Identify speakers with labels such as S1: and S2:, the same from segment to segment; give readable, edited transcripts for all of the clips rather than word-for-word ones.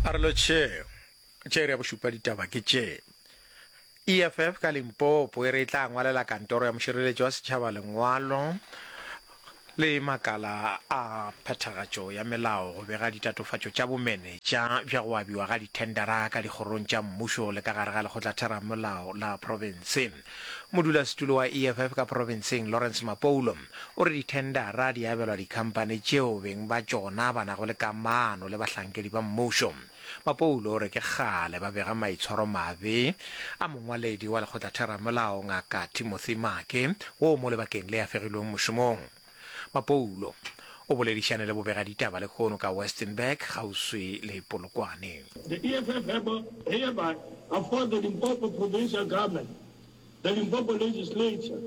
S1: A re lotšhe. Tše iri ya bošupa ditaba ke tše. EFF ka Limpopo e re e tla ngwalela kantoro ya mošireletši wa setšhaba lengwalo le makala a phethagatšo ya melao go bega ditatofatšo tša bomenetša bja go abiwa ga dithendara ka dikgorong tša mmušo le ka gare ga lekgotlatheramolao la profense. Modulasetulo wa EFF ka profenseng Lawrence Mapoulo o re dithendara di abelwa dikhamphani tšeo beng ba tšona ba nago le kamano le bahlankedi ba mmušo. Mapoulo o re ke kgale ba bega maitshwaromabe a mongwaledi wa lekgotlatheramolao Ngaka Timothy Make wo mo lebakeng le a fegilweng mošomong. Mapoulo o boledišane le bobegaditaba lehono ka Westenburg kgauswi le Polokwane.
S2: The EFF hereby affords the Limpopo Provincial Government, the Limpopo Legislature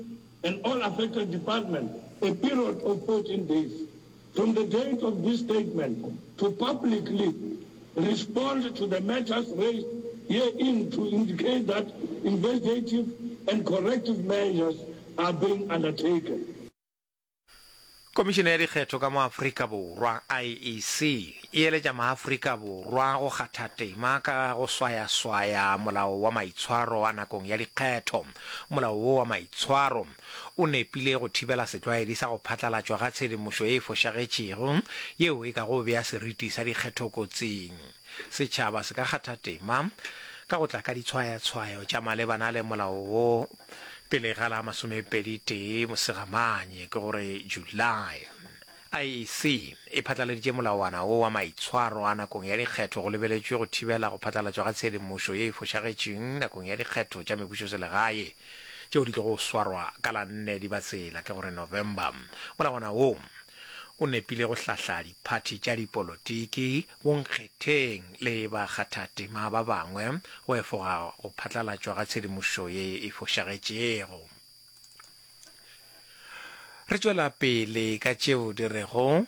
S2: and all affected departments a period of 14 days from the date of this statement to publicly respond to the matters raised herein to indicate that investigative and corrective measures are being undertaken.
S1: Komišene ya Dikgetho ka mo Afrika Borwa, IEC, e eletša maAfrika Borwa go kgatha tema ka go swayaswaya molao wa maitshwaro a nakong ya dikgetho. Molao wo wa maitshwaro o nepile go thibela setlwaedi sa go phatlalatšwa ga tshedimošo ye e fošagetšego yeo e kago bea seriti sa dikgetho kotsing. Setšhaba se ka kgatha tema ka go tla ka ditshwayatshwayo tša malebana le molao wo pele ga la masomepeditee Mosegamanye, ke gore July. IEC e phatlaladitše molawana wo wa maitshwaro a nakong ya dikgetho go lebeletšwe go thibela go phatlalatšwa ga tshedimošo ye e fošagetšeng nakong ya dikgetho tša mebušoselegae tšeo di tlogo swarwa ka la nne Dibatsela, ke gore November. Molawana wo o nepile go hlahla diphathi tša dipolotiki, bonkgetheng le bakgathatema ba bangwe go efoga go phatlalatšwa ga tshedimošo ye e fošagetšego. Re tšwela pele ka tšeo di rego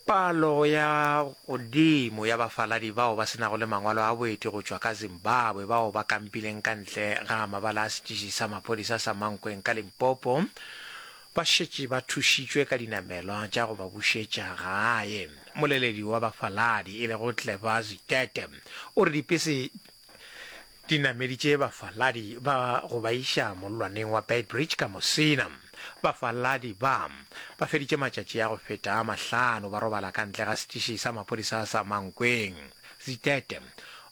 S1: palo ya godimo ya bafaladi bao ba se nago le mangwalo a boeti go tšwa ka Zimbabwe bao ba kampileng ka ntle ga mabala a setiši sa maphodisa sa Mankweng ka Limpopo ba šetše ba thušitšwe ka dinamelwa tša go ba bušetša gae. Moleledi wa bafaladi e lego Clever Zitete o re dipese Di nameditše bafaladi ba go ba iša mollwaneng wa Beitbridge ka Musina. Bafaladi ba ba feditše matšatši a go feta a mahlano ba robala ka ntle ga setiši sa maphodisa sa Mankweng. Zitete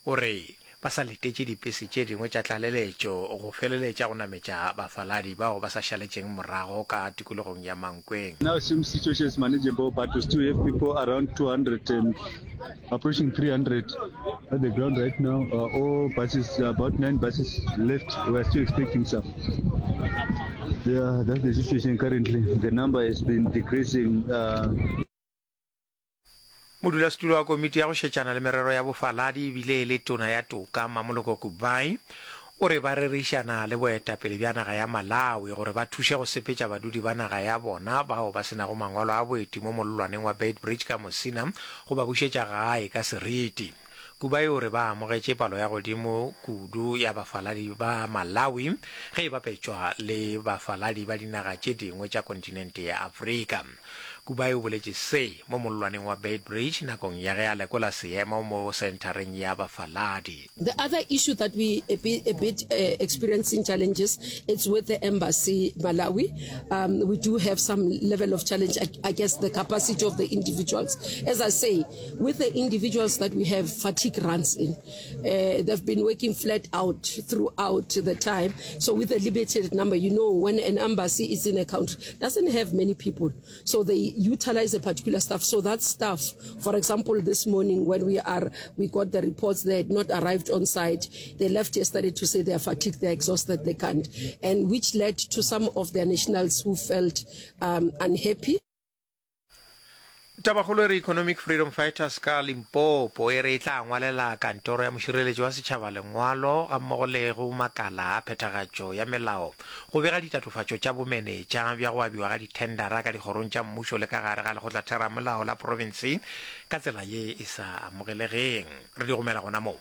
S1: o re ba sa letetše dipese tše dingwe tša tlaleletšo go feleletša go nametša bafaladi bao ba sa šaletšeng morago ka tikologong ya Mankweng.
S3: Now seems situation is manageable but we still have people around 200 and approaching 300 at the ground right now. Uh, all buses, about nine buses left. We are still expecting some. Yeah, that's the situation currently. The number has been decreasing. Uh,
S1: Modulasetulo wa komiti ya go šetšana le merero ya bofaladi ebile e le tona ya toka Mmamoloko Kubayi o re ba rerišana le boetapele bja naga ya Malawi gore ba thuše go sepetša badudi ba naga ya bona bao ba se nago mangwalo a boeti mo mollwaneng wa Beitbridge ka Musina go ba bušetša gae ka seriti. Kubayi o re ba amogetše palo ya godimo kudu ya bafaladi ba Malawi ge e bapetšwa le bafaladi ba dinaga tše dingwe tša kontinente ya Afrika. Kubayi o boletše se mo mollwaneng wa Beitbridge nakong ya ge a lekola seemo mo senthareng ya bafaladi.
S4: The other issue that we a bit, a bit uh, experiencing challenges, it's with the embassy Malawi. Um, we do have some level of challenge, I, I guess the capacity of the individuals. As I say, with the individuals that we have, fatigue runs in. Uh, they've been working flat out throughout the time. So with a limited number, you know, when an embassy is in a country, doesn't have many people. So they utilize a particular staff. So that staff, for example, this morning when we are, we got the reports they had not arrived on site. They left yesterday to say they are fatigued, they are exhausted, they can't. And which led to some of their nationals who felt um, unhappy.
S1: Tabakgolo e re Economic Freedom Fighters ka Limpopo e re e tla ngwalela kantoro ya mošireletši wa setšhaba lengwalo gammogo le go makala a phethagatšo ya melao go bega ditatofatšo tša bomenetša bja go abiwa ga dithendara ka dikgorong tša mmušo le ka gare ga lekgotlatheramolao la profense ka tsela ye e sa amogelegeng. Re di gomela gona moo.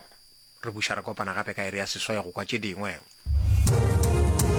S1: Re buša re kopana gape ka iri ya seswai go kwa tše dingwe.